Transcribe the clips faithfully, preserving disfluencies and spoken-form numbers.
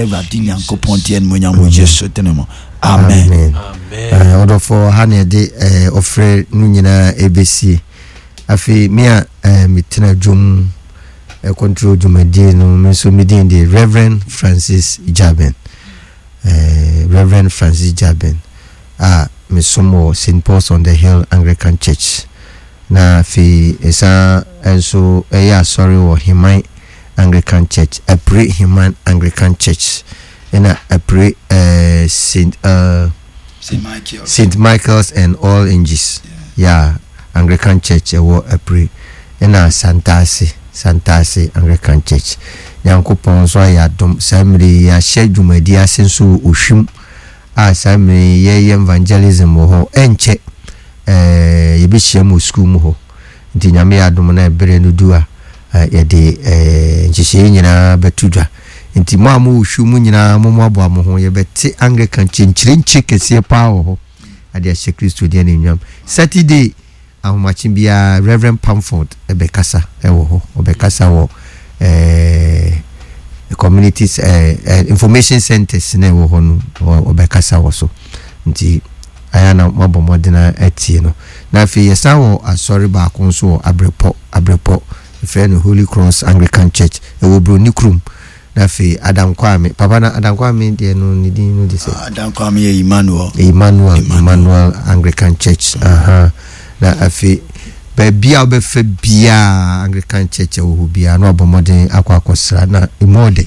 Awurade Nyankopɔn di animuonyam wɔ Yesu din mu. Amen. Amen. Ɔdɔfoɔ, ha na yɛde ɔfrɛ no nyinaa ɛbɛsie. Afei me a metena dwom control dwumadie no, me nso me din de Reverend Francis Jabin. Reverend Francis Jabin a mesom wɔ Saint Paul's on the Hill Anglican Church. Na afei ɛsan nso ɛyɛ asɔre wɔ Heman Anglican Church, Apire Heman Anglican Church, ɛna Apire eh, Saint uh, Saint Michael's. Saint Michael's and All Angels, yeah, Anglican Church ɛwɔ Apire, ɛna Santase, Santase Anglican Church. Nyankopɔn nso ayɛ adom, saa mmerɛ yi yɛahyɛ dwumadi ase nso wɔ Ohwim a saa mmerɛ yi yɛyɛ evangelism wɔ hɔ. Ɛnkyɛ eh, yɛbɛhyia mu wɔ sukuu mu hɔ. Nti Nyame yɛ adom na ɛberɛ no du a, yɛde nhyehyɛeɛ nyinaa bɛto dwa. Nti mo a mowɔ hwiw mu nyinaa, mommoaboa mo ho. Yɛbɛte Anglican kyenkyerenkye kɛseɛ paa wɔ hɔ ade ahyɛ Kristo din animuonyam. Saturday ahomakye biara, Reverend Pamford bɛkasa wɔ hɔ. Ɔbɛkasa wɔ eh, communities eh, eh, information centers na ɛwɔ hɔ no, ɔbɛkasa wɔ so. Nti ayɛ na moabɔ mmɔden atie no. Na afei yɛsan wɔ asɔre baako nso wɔ Abrepɔ, Abrepɔ, yɛfrɛ no Holy Cross Anglican Church, ɛwɔ Broni kurom. Na afei Adam Kwame, papa na Adam Kwame deɛ no ne din no de sɛ? Adam Kwame yɛ Emmanuel. Emmanuel, Emmanuel Anglican Church. Aha. Na afei baabi a wobɛfa biara Anglican Church ɛwɔ hɔ biara na wabɔ mmɔden akɔ akɔsra na emu ɔdɛ.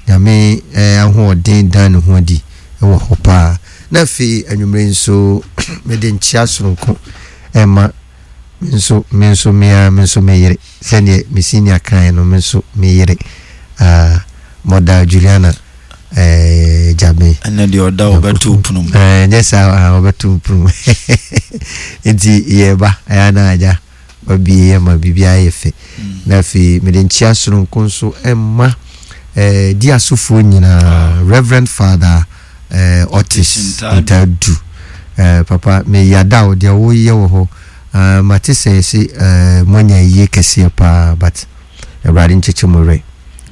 Nyame eh, ahoɔden dan ne ho adi ɛwɔ hɔ paa. Na afei anwummere nso mede nkyea soronko ɛma me nso me nso me ara me nso me yere, sɛdeɛ me senior kaeɛ no, me nso me yere, ah, Mother Juliana eh, Gyame. Ɛnɛ deɛ ɔda ɔbɛto pono mu. Eh, nyɛ saa, ah, ɔbɛto pono mu. Nti yɛba ɛyɛ na agya wabie yɛ ma biribiara yɛ fɛ. Na afei mede nkyea soronko nso ɛma eh, di asofoɔ nyinaa, Reverend Father eh, Otis Ntadu. Eh, papa meyada wo deɛ woyɛ wɔ hɔ. Uh, mate sɛ yɛse uh, moanya yie kɛseɛ paa, but Awurade nkyekye mo werɛ.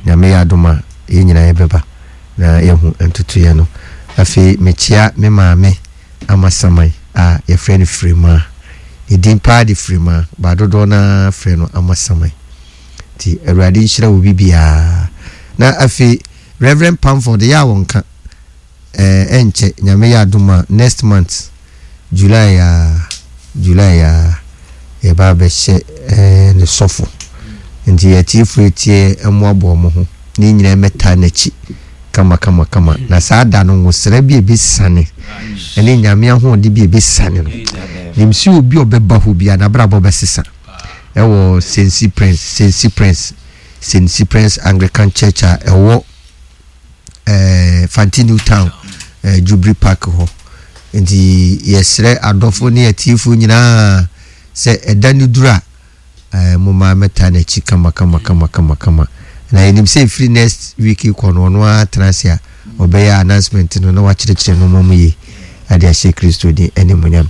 Nyame yɛ adom a yɛn nyinaa yɛbɛba na yɛhu ntotoeɛ no. Afei mekyea me maame Amasaman a yɛfrɛ no Firimaa. Ne din paa de Firimaa, ba dodoɔ no ara frɛ no Amasaman. Nti Awurade nhyira wo bibiara. Na afei Reverend Pamford yɛ a wɔnka eh, ɛnkyɛ Nyame yɛ adom a next month July a, July a yɛba abɛhyɛ eh, ne sɔfo. Nti atiefo etie mmoaboa mo ho ne nyinaa mmɛtaa n'akyi kama kama kama. Na saa da no nwosra bi a ebesiane ɛne Nyame ahoɔden bi a ebesiane no, nim sɛ obi a ɔbɛba hɔ biara n'abrabɔ bɛsesa. Ɛwɔ Saint Cyprian's, Saint Cyprian's, Saint Cyprian's Anglican Church a ɛwɔ eh, Fanti New Town, eh, Jubilee Park hɔ. Nti yɛsrɛ adɔfo ne atiefo nyinaa sɛ ɛda no duru a, eh, momma mɛta n'akyi kama kama kama kama kama. Na yɛnim sɛ ɛfiri next week kɔ no, ɔno ara tena ase a ɔbɛyɛ announcement no na wakyerɛkyerɛ nneɛma mu yie ade ahyɛ Kristo din animuonyam.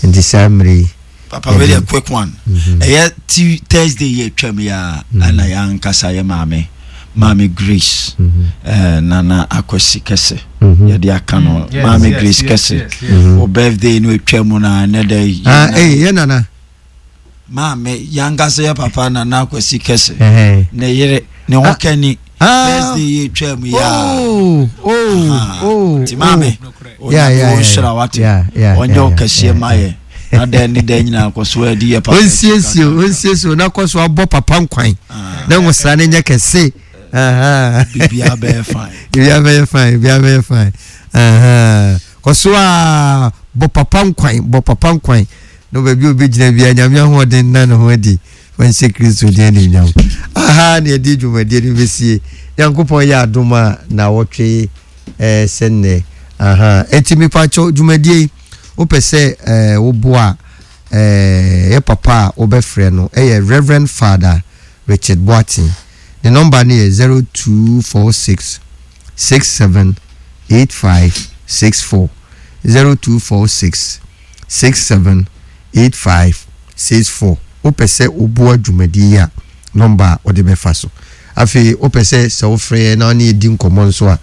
Nti saa mmerɛ yi, Papa, wei deɛ quick one. Ɛyɛ ti Thursday yɛ twam yɛ a, ɛna yɛ ankasa yɛ maame, Maame Grace, eh, Nana Akwasi Kɛse, yɛde aka no, Maame Grace Kɛse, o birthday no atwa mu na ɛnɛ dɛ. Ah, eh, yɛ Nana. Maame, yɛ ankasa yɛ papa Nana Akwasi Kɛse, ne yere, ne ho kani. Thursday yɛ twam yɛ a. Oh, oh, oh. Ti maame, Onyame wo nhyira wate, ɔnyɛ wo kɛseɛ ma yɛ. Na dɛn ne dɛn nyinaa kɔ so adi yɛ papa. Onsiesie onsiesie na kɔ so abɔ papa nkwan na nwosra no nyɛ kɛse. Biribiara bɛyɛ fine. Biribiara bɛyɛ fine, biribiara bɛyɛ fine. Kɔ so a bɔ papa nkwan, bɔ papa nkwan. Na baabi a obɛgyina biara Nyame ahoɔden na ne ho adi. Wɔnhyɛ Kristo din animuonyam. Aha na yɛde dwumadie no bɛsie. Nyankopɔn yɛ adom a na wɔtwe eh, sɛ nnɛ. Aha. Enti mepakyɛw dwumadie yi, wopɛ sɛ eh, woboa a, eh, yɛ papa a wobɛfrɛ no ɛyɛ Reverend Father Richard Boateng. Ne nɔmba no yɛ zero two four six six seven eight five six four, zero two four six six seven eight five six four. Wopɛ sɛ woboa dwumadie yi a, nɔmba a wode bɛfa so. Afei wopɛ sɛ sɛ wofrɛ yɛn na wo ne yɛdi nkɔmmɔ nso a,